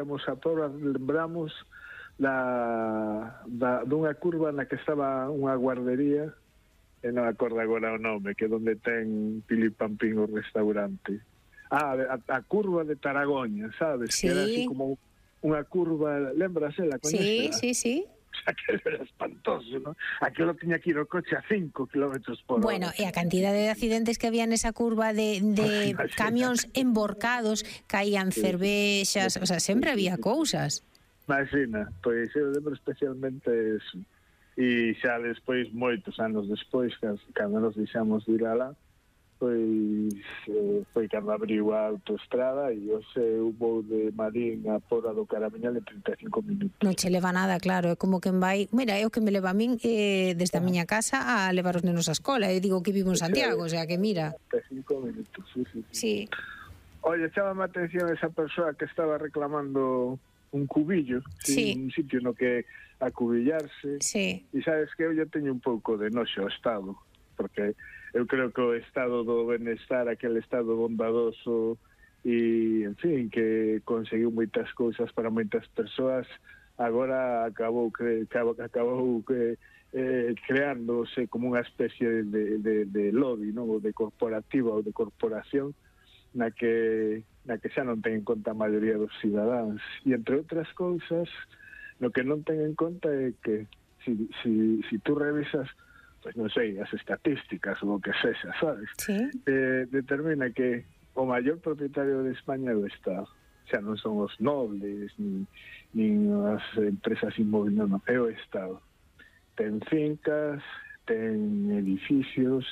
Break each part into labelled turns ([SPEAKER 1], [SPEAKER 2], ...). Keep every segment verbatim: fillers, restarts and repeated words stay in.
[SPEAKER 1] Lembramos a todas, lembramos da, da, dunha curva na que estaba unha guardería, e non acordo agora o nome, que é onde ten Pili Pampín o restaurante. Ah, a, a curva de Taragoña, sabes?
[SPEAKER 2] Sí.
[SPEAKER 1] Que era así como unha curva, lembras, la
[SPEAKER 2] Sí,
[SPEAKER 1] coñecela?
[SPEAKER 2] sí, sí.
[SPEAKER 1] O sea, que era espantoso, ¿no? Aquilo tiña que ir o coche a cinco kilómetros por hora.
[SPEAKER 2] Bueno, e a cantidad de accidentes que había nesa curva de, de camións emborcados, caían cervexas, o sea, sempre había cousas.
[SPEAKER 1] Imagina, pois eu lembro especialmente eso. E xa despois, moitos anos despois, cando nos deixamos de ir alá, pois eh, foi cando abriu a autoestrada e hoxe hubo de Marín a Póra do Caramiñal en trinta e cinco minutos.
[SPEAKER 2] Non che leva nada, claro, é como que vai... Mira, é o que me leva a min eh, desde a miña casa a levar os nenos á escola. Eu digo que vivo en Santiago, o sea que mira...
[SPEAKER 1] trinta e cinco minutos, sí, sí, sí.
[SPEAKER 2] Sí.
[SPEAKER 1] Oye, chábame a atención esa persoa que estaba reclamando un cubillo,
[SPEAKER 2] sí.
[SPEAKER 1] un sitio no que acubillarse.
[SPEAKER 2] Sí.
[SPEAKER 1] E sabes que eu ya teño un pouco de noxo ao Estado, porque eu creo que o estado do benestar, aquele estado bondadoso e, en fin, que conseguiu moitas cousas para moitas persoas, agora acabou que acabou, acabou que eh, creándose como unha especie de, de, de lobby, non? Ou de corporativa ou de corporación na que na que xa non ten en conta a maioría dos cidadáns. E, entre outras cousas, no que non ten en conta é que si, si, si tú revisas, pois non sei, as estatísticas ou o que sexa, sabes?
[SPEAKER 2] Sí.
[SPEAKER 1] Eh, determina que o maior propietario de España é o Estado. Xa non son os nobles, nin, nin as empresas inmobiliarias, non, é o Estado. Ten fincas, ten edificios,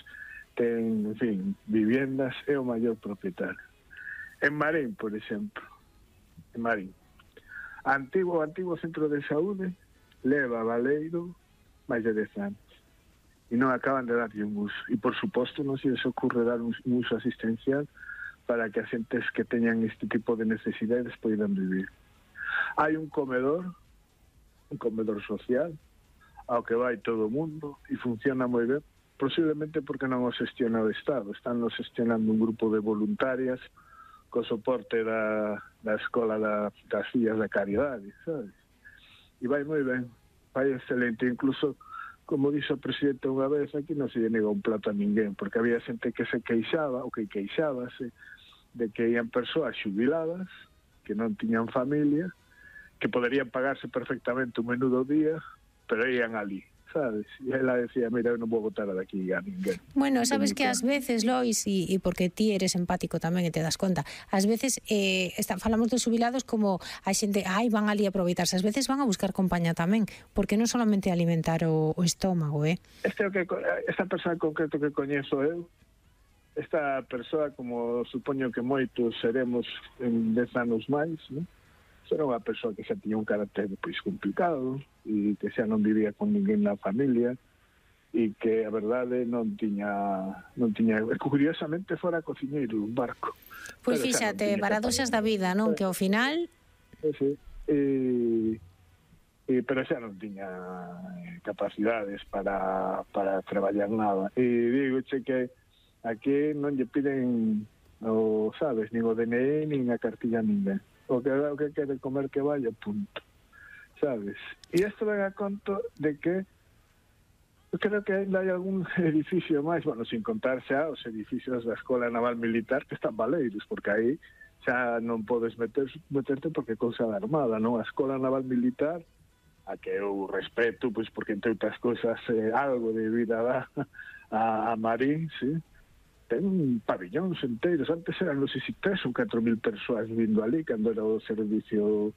[SPEAKER 1] ten, en fin, viviendas, é o maior propietario. En Marín, por exemplo, en Marín, antigo, antigo centro de saúde leva Baleiro máis de dez anos e non acaban de darlle un uso. E, por suposto, non se les ocurre dar un, un uso asistencial para que as xentes que teñan este tipo de necesidades poidan vivir. Hai un comedor, un comedor social, ao que vai todo o mundo e funciona moi ben, posiblemente porque non o xestiona o Estado. Están nos gestionando un grupo de voluntarias co soporte da, da escola da, das fillas da caridade, sabes? E vai moi ben, vai excelente, incluso, como dixo o presidente unha vez, aquí non se lle nega un plato a ninguén, porque había xente que se queixaba, ou que queixábase, de que ian persoas xubiladas, que non tiñan familia, que poderían pagarse perfectamente un menú do día, pero ian ali, sabes? E ela decía, mira, eu non vou botar daqui a ninguén.
[SPEAKER 2] Bueno, sabes que ás veces, Lois, e, e porque ti eres empático tamén e te das conta, ás veces eh, está, falamos dos xubilados como a xente, ai, van ali a aproveitarse, ás veces van a buscar compañía tamén, porque non solamente alimentar o, o estómago, eh?
[SPEAKER 1] Este é o que, esta persoa en concreto que coñezo eu, esta persoa, como supoño que moitos seremos en dez anos máis, non? Era unha persoa que xa tiña un carácter pois complicado e que xa non vivía con ninguén na familia e que a verdade non tiña non tiña curiosamente fora cociñeiro dun barco.
[SPEAKER 2] Pois fíxate, paradoxas da vida, non? Que ao final
[SPEAKER 1] sí, sí. E, e pero xa non tiña capacidades para para traballar nada. E digo che que aquí non lle piden o, sabes, nin o D N I nin a cartilla a ninguén. O que, o que quere comer que vaya, punto, sabes? E isto ven a conto de que eu creo que ainda hai algún edificio máis, bueno, sin contar xa os edificios da Escola Naval Militar que están baleiros, porque aí xa non podes meter, meterte porque é cousa da Armada, non? A Escola Naval Militar, a que eu respeto, pois porque entre outras cousas eh, algo de vida dá a, a Marín, sí, ten pabillóns enteiros. Antes eran, non sei se tres ou catro mil persoas vindo ali cando era o servicio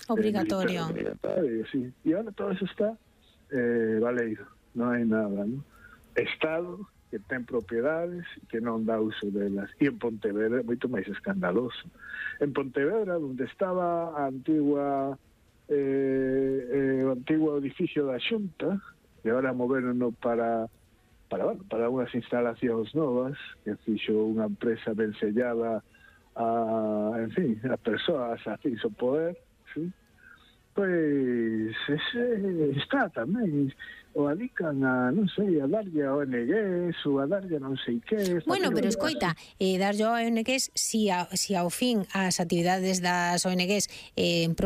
[SPEAKER 2] obligatorio.
[SPEAKER 1] Eh, obligatorio, sí. E agora todo eso está eh, baleiro, non hai nada, non? Estado que ten propiedades e que non dá uso delas. E en Pontevedra é moito máis escandaloso. En Pontevedra, onde estaba a antigua eh, eh, o antigo edificio da Xunta, e agora moverono para para, bueno, para unhas instalacións novas que fixo unha empresa ben sellada a, en fin, a persoas a fixo poder, sí? Pois ese está tamén o adican a, non sei, a darlle a O N Gs ou a darlle a non sei que.
[SPEAKER 2] Bueno, pero escoita, eh, darlle a O N Gs si, a, si ao fin as actividades das O N Gs eh, en